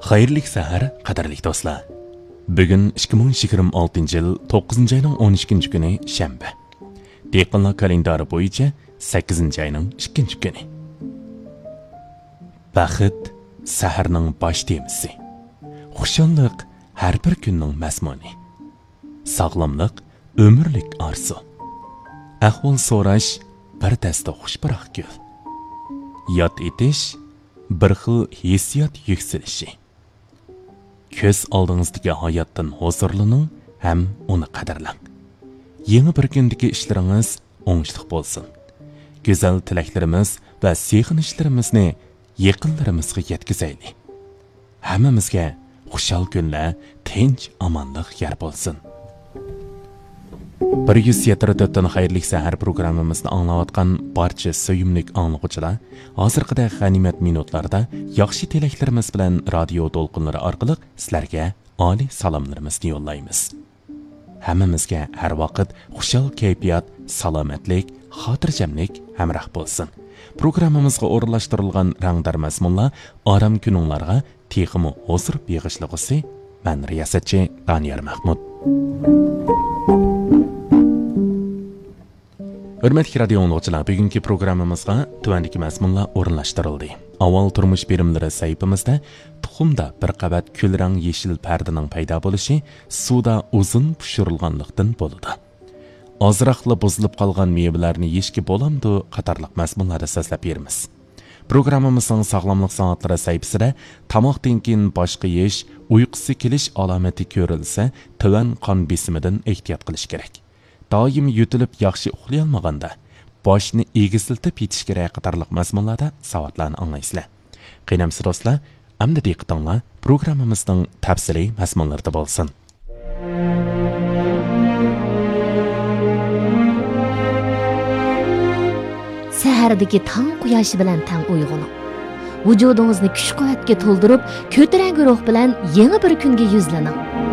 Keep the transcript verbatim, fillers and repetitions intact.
خەيرلىك سەھەر، قەدىرلىك دوستلار. بۈگۈن ئىككى مىڭ يىگىرمە ئالتىنچى يىل توققۇزىنچى ئاينىڭ ئون ئىككىنچى كۈنى، شەنبە. دېھقانلار كالېندارى بويىچە سەككىزىنچى ئاينىڭ ئىككىنچى كۈنى. بەخت سەھەرنىڭ باش تېمىسى. خۇشاللىق ھەر بىر كۈننىڭ مەزمۇنى. ساغلاملىق ئۆمۈرلۈك ئارزۇ. ئەھۋال سوراش بىر دەستە خۇش پۇراق گۈل. ياد ئېتىش بىر خىل ھېسسىيات يۈكسىلىشى. كۆز ئالدىڭىزدىكى ھاياتتىن ھۇزۇرلىنىڭ ھەم ئۇنى قەدىرلەڭ. يېڭى بىر كۈندىكى ئىشلىرىڭىز ئوڭۇشلۇق بولسۇن. گۈزەل تىلەكلىرىمىز ۋە سېغىنىشلىرىمىزنى يېقىنلىرىمىزغا يەتكۈزەيلى. ھەممىمىزگە خۇشال كۈنلەر، تىنچ، ئامانلىق يار بولسۇن. بىر يۈز يەتتە تۆتتىن خەيرلىك سەھەر پروگراممىمىزنى ئاڭلاۋاتقان بارچە سۆيۈملۈك ئاڭلىغۇچىلار، ھازىرقىدەك غەنىيمەت مىنۇتلاردا ياخشى تىلەكلىرىمىز بىلەن رادىيو دولقۇنلىرى ئارقىلىق سىلەرگە ئالىي سالاملىرىمىزنى يوللايمىز. ھەممىمىزگە ھەر ۋاقىت خۇشال كەيپىيات، سالامەتلىك، خاتىرجەملىك ھەمراھ بولسۇن. پروگراممىمىزغا ئورۇنلاشتۇرۇلغان رەڭدار مەزمۇنلار ئارام كۈنۈڭلارغا تېخىمۇ ھۇزۇر بېغىشلىغۇسى. مەن رىياسەتچى دانىيار مەھمۇت. ھۆرمەتلىك رادىيو ئاڭلىغۇچىلار، بۈگۈنكى پروگراممىمىزغا تۆۋەندىكى مەزمۇنلار ئورۇنلاشتۇرۇلدى. ئاۋۋال تۇرمۇش بېرىملىرى سەھىپىمىزدە تۇخۇمدا بىر قەۋەت كۈلرەڭ يېشىل پەردىنىڭ پەيدا بولۇشى سۇدا ئۇزۇن پىشۇرۇلغانلىقتىن بولىدۇ. ئازراقلا بۇزۇلۇپ قالغان مېۋىلەرنى يېيىشكە بولامدۇ؟ قاتارلىق مەزمۇنلاردا سۆزلەپ بېرىمىز. پروگراممىمىزنىڭ ساغلاملىق سائەتلىرى سەھىپىسىدە تاماقتىن كېيىن باش قېيىش، ئۇيقۇسى كېلىش ئالامىتى كۆرۈلسە، تۆۋەن قان بېسىمىدىن ئېھتىيات قىلىش كېرەك. دائىم يۆتىلىپ ياخشى ئۇخلىيالمىغاندا، باشنى ئېگىزلىتىپ يېتىش كېرەك قاتارلىق مەزمۇنلاردا ساۋاتلارنى ئاڭلايسىلەر. قېنى ئەمىسە دوستلار، ئەمدى دىققىتىڭلار پروگراممىمىزنىڭ تەپسىلىي مەزمۇنلىرىدا بولسۇن. سەھەردىكى تاڭ قۇياشى بىلەن تەڭ ئويغىنىڭ. ۋۇجۇدىڭىزنى كۈچ-قۇۋۋەتكە تولدۇرۇپ، كۆتۈرەڭگۈ روھ بىلەن يېڭى بىر كۈنگە يۈزلىنىڭ.